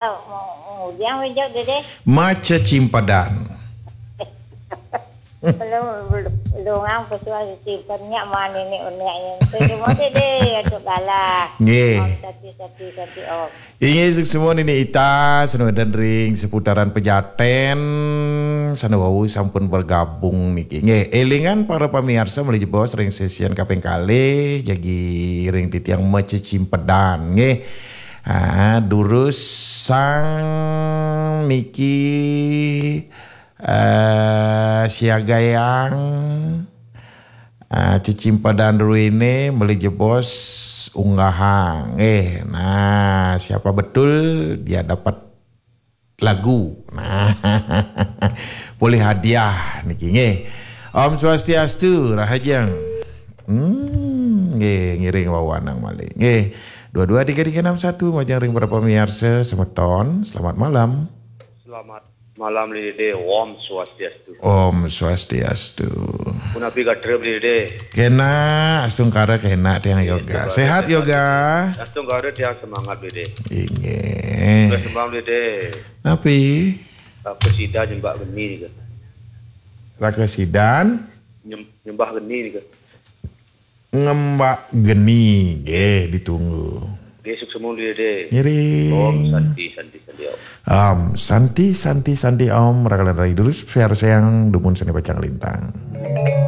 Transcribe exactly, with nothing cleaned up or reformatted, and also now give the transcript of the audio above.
Mau ngudiang wé jok, Dédé. Macecimpedan. Belum, belum, belum, ang pesuah simpennya mana ini uneknya. Itu semua, Dédé, untuk galah. Nggih. Om Santi, Santi, Santi, Om. Inggih, suksma niki Ita, sané wénten ring seputaran Pejaten, sané wau sampun bergabung niki. Nggih, élingan para pamiarsa malih jebos ring sesian kaping kalih, jagi ring titiang macecimpedan, nggih. Ah, durus sang niki, eh, siagayang, eh, cecimpedan rumiyin malih jebos unggahang. Eh, nah, siapa betul dia dapat lagu. Nah, boleh hadiah niki, nggih. Om Swastiastu, rahajeng. Hmm, nggih, ngiring wawanang malih. Nggih. Dua dua tiga tiga enam satu, majeng ring para pamiarsa semeton. Selamat malam. Selamat malam, Dédé. Om Swastiastu. Om Swastiastu. Punapi gatra, Dédé? Kénak, astungkara kénak tiang Yoga. Sehat Yoga? Astungkara tiang semangat, Dédé. Inggih. Suksma, Dédé. Napi? Apa sida nyembah geni nika? Raka sidan Nyem- nyembah geni nika. ngembak geni, nggih, ditunggu. Nggih, suksma, Dédé. Ngiring. Om Santi, Santi, Santi, Om. Om Santi, Santi, Santi, Om. Rakalan rai durus, siar sayang, dumun seni pacang lintang.